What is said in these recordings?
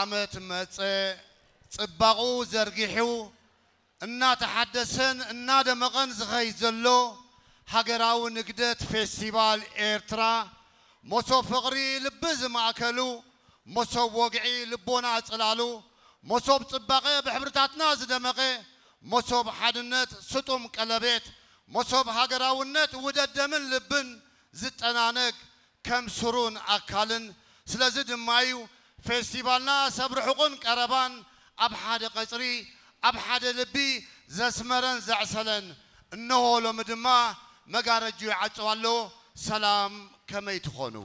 ዓመት መጸ ጽባቑ ዘርጊሑ እናተሓደሰን እናደመቐን ዝኸይድ ዘሎ ሃገራዊ ንግደት ፌስቲቫል ኤርትራ፣ መሶብ ፍቕሪ ልቢ ዝማእከሉ፣ መሶብ ወግዒ ልቦና ጽላሉ፣ መሶብ ጽባቐ ብሕብርታትና ዝደመቐ፣ መሶብ ሓድነት ስጡም ቀለቤት፣ መሶብ ሃገራውነት ውደት ደምን ልብን ዝጠናነግ ከም ስሩን ኣካልን። ስለዚ ድማ እዩ ፌስቲቫልና ሰብ ርሑቕን ቀረባን ኣብ ሓደ ቀጽሪ፣ ኣብ ሓደ ልቢ ዘስመረን ዘዕሰለን። እነሆ ሎሚ ድማ መጋረጅኡ ይዓጽው ኣሎ። ሰላም፣ ከመይ ትኾኑ?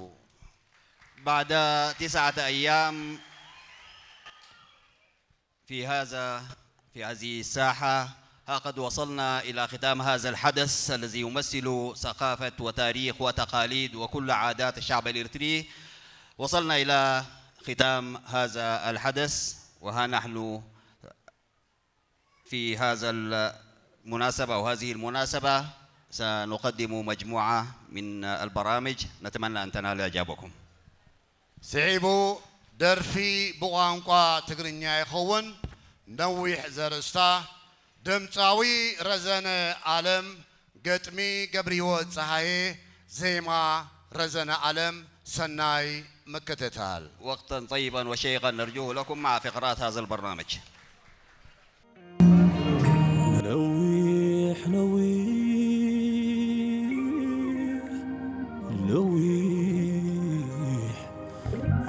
بعد تسعة أيام في هذا في هذه الساحة، ها قد وصلنا إلى ختام هذا الحدث الذي يمثل ثقافة وتاريخ وتقاليد وكل عادات الشعب الإريتري. وصلنا إلى ختام هذا الحدث، وها نحن في هذا المناسبة أو هذه المناسبة سنقدم مجموعة من البرامج، نتمنى أن تنال إعجابكم. ስዒቡ ደርፊ ብቋንቋ ትግርኛ ይኸውን። ነዊሕ ዘርእስታ ድምፃዊ ረዘነ ኣለም፣ ገጥሚ ገብርህይወት ፀሃየ፣ ዜማ ረዘነ ኣለም። ሰናይ ምክትታል። وقتا طيبا وشيقا نرجوه لكم مع فقرات هذا البرنامج. ነዊሕ ነዊሕ ነዊሕ